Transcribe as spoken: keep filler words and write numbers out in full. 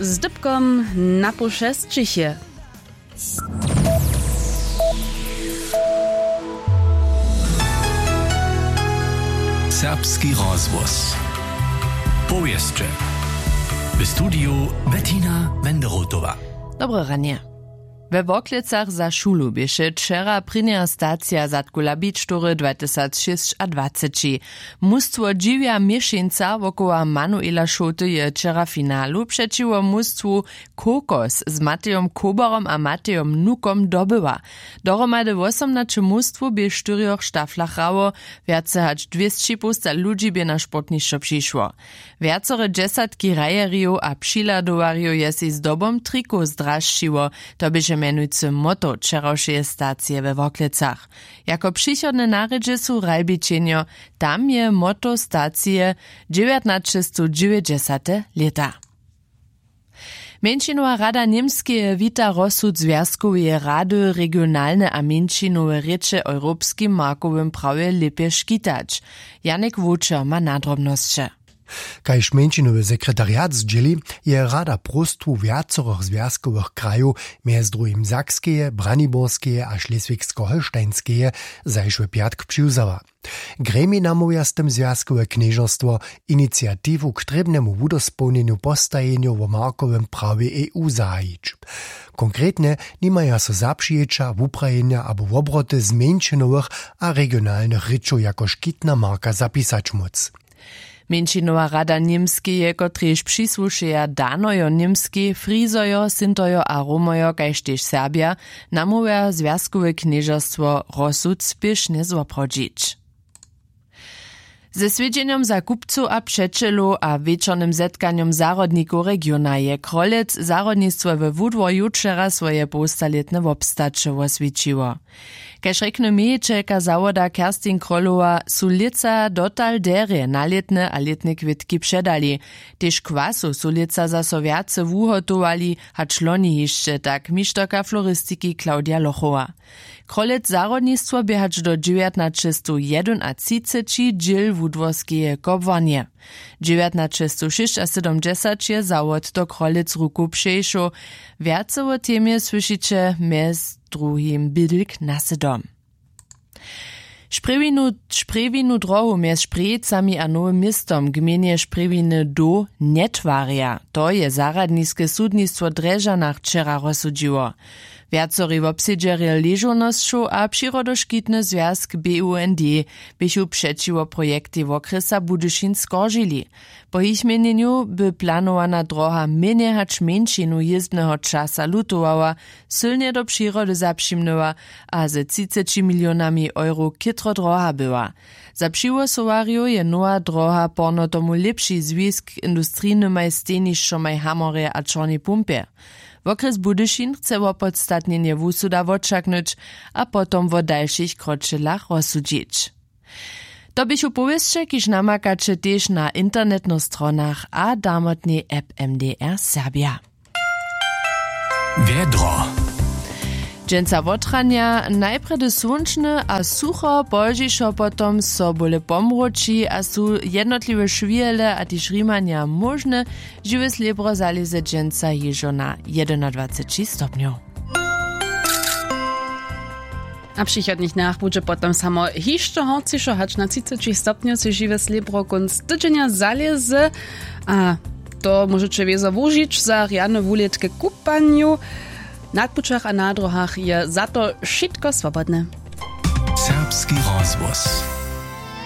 Z dypkom na poł šesćich je. Serbski rozhłos. Powěsće. W studiju Bettina Wenderotowa. Dobre ranje. We Worklecach za šulu běše wčera prěnja stacija Zadku Labičtory dwatysacšěsćadwaceći. Mustwo Dźiwja Měšeńca wokoła Manuela Šołty je wčera w finalu přećiwo mustwu Kokos z Matejom Koberom a Matejom Nukom dobyła. Dohromady wosomnaće mustwow bě w štyrjoch štaflach hrało, wjace hač dwěsći połsta ludźi bě na sportnišćo přišło. Wjacore dźesatki hrajerjow a přihladowarjow je sej zdobom trikow zdrasćiło, to běše mjenujcy motto wčerawšeje stacije we Worklecach. Jako přichodne narědźe su hrajbičenjo, tam je motto stacije dźewjatnaćestowdźewjećdźesate lěta. Mjeńšinowa rada Němskeje wita rozsud zwjazkoweje rady, regionalne a mjeńšinowe rěče w europskim markowym prawje lěpje škitać. Janek Wočer ma nadrobnosće. Kaž mjeńšinowy sekretariat zdźěli, je rada próstwu wjacorych zwjazkowych krajow, mjez druhim Sakskeje, Braniborskeje a Šleswigsko-Holštajnskeje, zašły pjatk přiwzała. Gremij namołwja z tym zwjazkowe knježerstwo, iniciatiwu k trěbnemu wudospołnjenju postajenjow wo markowym prawje E U zahajić. Konkretnje nimaja so zapřijeća, wuprajenja abo wobroty zmjeńšenowych a regionalnych rěčow jako škitna marka zapisać móc. Mjeńšinowa rada Němskeje, kotrež přisłušeja Danojo Němskej, Frizojo, Sintojo a Romojo kaž tež Serbja, namołwja zwjazkowe knježerstwo rozsud spěšnje zwoprawdźić. Ze swjedźenjom za kupcow a přećelow a wječornym zetkanjom zahrodnikow regiona je Krolec zahrodnistwo we Wudworju wčera swoje połstalětne wobstaće woswjećiło. Kaž rjekny mějićelka zawoda Kerstin Krolowa, su lětsa dotal derje, nalětne a lětne kwětki předali. Tež kwasow su lětsa zaso wjace wuhotowali hač loni hišće, tak mišterka floristiki Claudia Lochowa. Krolec zahrodnistwo bě hač do dźewjatnaćestowjedynatřiceći dźěl wudworskeje kobłarnje. Dźewjatnaćestowšěsćasydomdźesać je zawod do Krolec ruku přešoł. Wjace wo temje słyšiće mjez druhim bydlk na sydom. Šprjewinu šprjewinu drohu mjez Šprjejcami a Nowym Městom gmejnje Šprjewiny doł njetwarja. To je zarjadniske sudnistwo w Drježdźanach wčera rozsudźiło. Wjacori wobsedźerjo ležownosćow a přirodoškitny zwjazk B U N D běchu přećiwo projektej wokrjesa Budyšin skoržili. Po jich měnjenju by planowana droha mjenje hač mjeńšinu jězbneho časa lutowała, sylnje do přirody zapřimnyła a ze třiceći milionami euro chětro droha była. Za přiwosowarjow je nowa droha porno tomu lěpši zwisk k industrijnymaj stejnišćomaj w Hamorje a Čornej Pumpje. Wokrjes Budyšin chce wopodstatnjenje wusuda wočaknyć a potom wo dalšich kročelach rozsudźić. To běchu powěsće, kiž namakaće tež na internetnych stronach a damotnej app M D R Serbja. Wjedro. Dźensa wotranja najprjedy słónčne a sucho, pozdźišo potom so bóle pomroči a su jednotliwe šwihele a tež rimanja móžne. Žiwe slěbro zalěze dźensa hižo na jedynadwaceći stopnjow. A w přichodnych dnjach budźe potom samo hišće horcišo, hač na třiceći stopnjow sej žiwe slěbro kónc tydźenja zalěze. A to móžeće wězo wužić za rjane wulětke kupanju. Na pućach a na dróhach je za to wšitko swobodne. Serbski rozhłos.